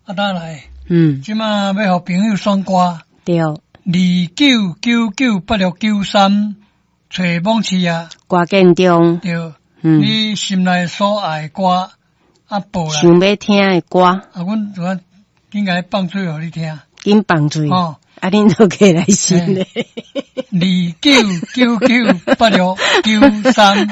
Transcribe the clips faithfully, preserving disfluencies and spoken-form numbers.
啊，打來。嗯。這馬欲予朋友選歌。對。二九九九八六九三，揣網市啊。歌建中。對。嗯。你心內所愛歌，啊，報來。想欲聽的歌。啊，阮就按緊共放喙予你聽。緊放喙。哦。啊，恁都過來先咧。二九九九八六九三，二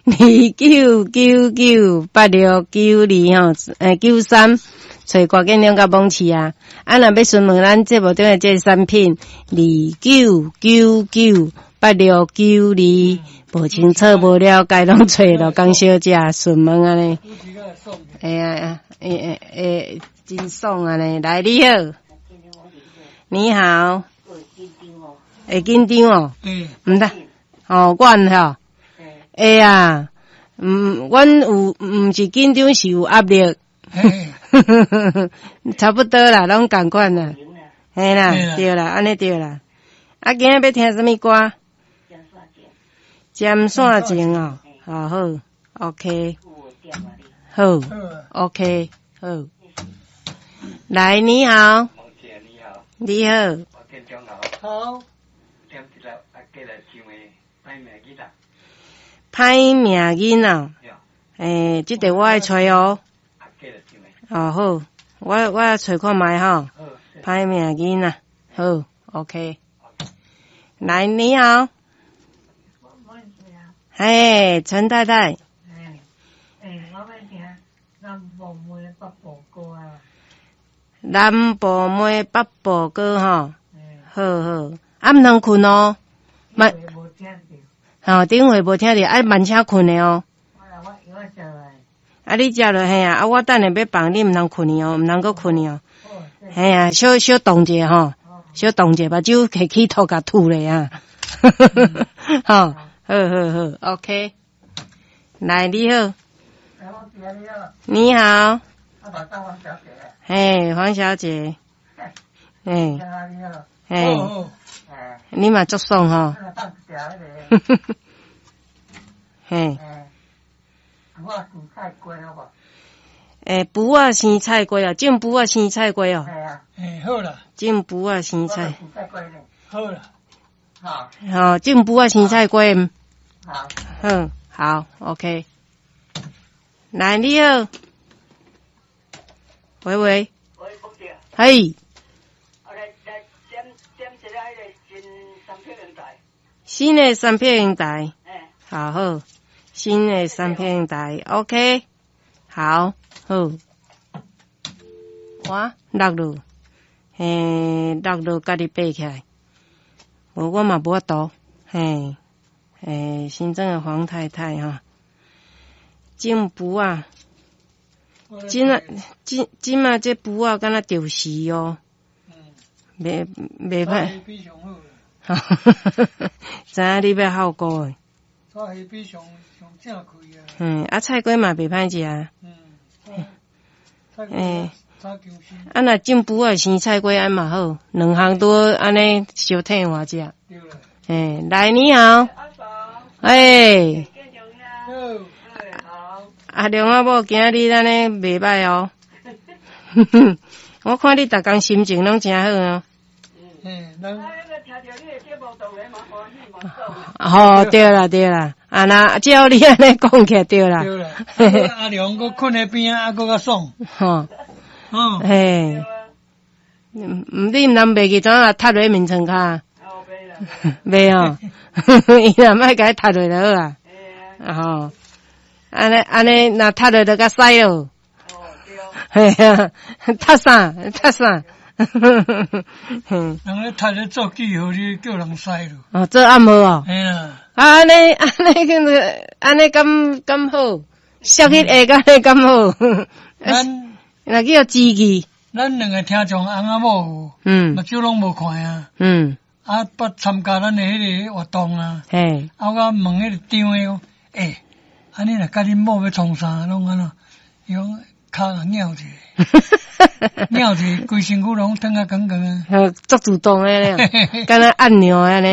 二九九九八六九二吼，欸九三，揣歌建中佮網市啊。啊，若欲詢問咱節目中的這个產品，二九九九八六九二，無清楚無了解，攏揣羅江小姐詢問按呢。會啊，會會會，真爽按呢。來，你好。你好。會緊張哦。嗯。毋得，哦，阮吼，會啊，毋，阮有，毋是緊張，是有壓力。差不多啦，攏仝款啦。嘿啦，對啦，按呢對啦。啊，今仔欲聽啥物歌？針線情哦，好好，OK，好，OK，好。來，你好。你好。好。歹命囡仔，欸，這个我愛揣哦。哦好，我我揣看覓吼。歹命囡仔，好，OK。來，你好。嘿，陳太太。欸，我欲聽南部妹北部歌啊。南部妹北部歌吼，好好，啊毋通睏哦。慢。吼，頂回無聽著，愛慢車睏的哦。啊，你食落嘿啊，啊，我等下欲放，你毋通睏去哦，毋通閣睏去哦。嘿啊，小小動者吼，小動者，目睭提起塗共吐咧啊。吼，好好好，OK。來，你好。你好。嘿，黃小姐。嘿。嘿。你嘛足爽吼。嘿。欸，匏仔生菜瓜啊，種匏仔生菜瓜哦。欸，好啦。種匏仔生菜。好啦。好。好，種匏仔生菜瓜。好。嗯，好，OK。來，你好。喂喂。喂，福姐。嘿。來來，點點一下彼个新三片平台。新的三片平台。欸。好好，新的三片平台，OK。好，好。我落落，嘿，落落，家己爬起來。無，我嘛無法度，嘿，欸，新莊的黃太太吼，種匏仔，這啊，這這馬這匏仔敢若著時哦，袂袂歹。哈哈哈！知影你欲好顧的。炒蝦米上上正開啊。嗯，啊菜瓜嘛袂歹食。嗯。欸，啊若種匏仔生菜瓜按嘛好，兩項都按呢相替換食。欸，來你好。欸。阿良仔某今仔日按呢袂䆀哦。我看你逐工心情攏誠好哦。嗯，吼，對啦對啦，啊若照你按呢講起來對啦。對啦，阿良閣睏佇邊仔，啊閣較爽。吼，嗯，嘿，毋你毋通袂記怎啊踢落眠床跤？袂哦，伊若莫共伊踢落就好啊。吼，按呢按呢，若踢落就較屎咯。嘿啊，踢啥？踢啥？人咧踢咧做記號，你叫人屎咯。哦，做按摩哦。嘿啦。啊，按呢按呢，按呢敢敢好，摔去下按呢敢好。咱若叫支氣。咱兩个聽眾翁仔某有，嗯，目睭攏無看啊。嗯。啊，捌參加咱的彼个活動啊。嘿。啊，我問彼個長的講，欸，啊你若佮恁某欲創啥，攏按怎？伊講跤共拗者，拗者，規身軀攏疼啊剛剛啊。足主動的咧，敢若按鈕按呢。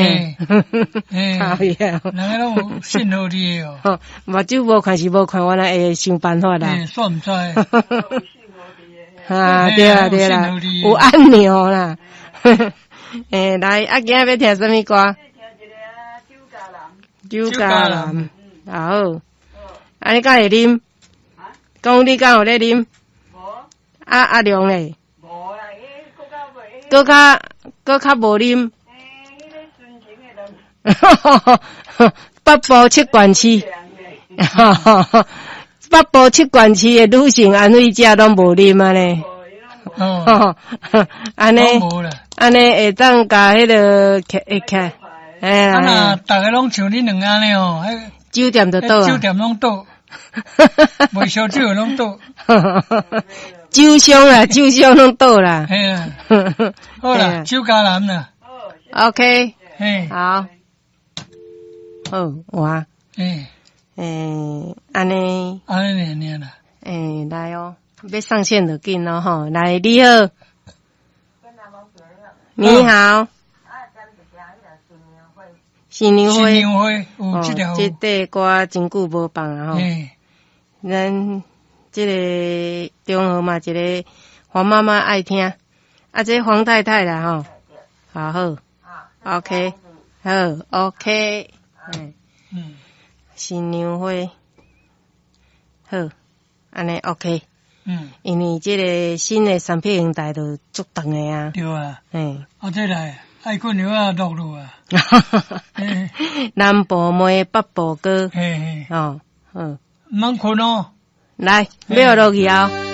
嘿，哎呀，人家攏有信號佇的哦。目睭無看是無看，原來會想辦法啦。欸，煞毋知。啊，對啦對啦，有按鈕啦。欸，來，啊，今仔欲聽啥物歌？酒家男。好。啊，你敢會啉？講你敢有咧啉？啊，阿良咧？閣較閣較無啉。北部七縣市，北部七縣市的女性安慰者攏無啉按呢。哦，按呢，按呢會當共彼个會起，哎。啊若逐个攏像恁兩按呢哦，酒店就倒啊。酒店攏倒，賣燒酒的攏倒。酒商啦，酒商攏倒啦。嘿啊，好啦，酒家男啦。 OK，嘿，好，好，我，嘿，欸，按呢，按呢爾爾啦。欸，來哦，欲上線就緊咯吼，來，你好，你好，新娘花，新娘花，有這條，這塊歌真久無放啊吼，咱這个中和嘛，一个黃媽媽愛聽，啊，這黃太太啦吼，好好，OK，好，OK，嗯，新娘花，好，按呢 OK，嗯，因為這个新的三片形態就足長的啊，對啊，嘿，啊，這來愛睏藥啊落落啊，南部妹北部哥，嘿嘿，哦，好，毋通睏哦。來，欲落去哦。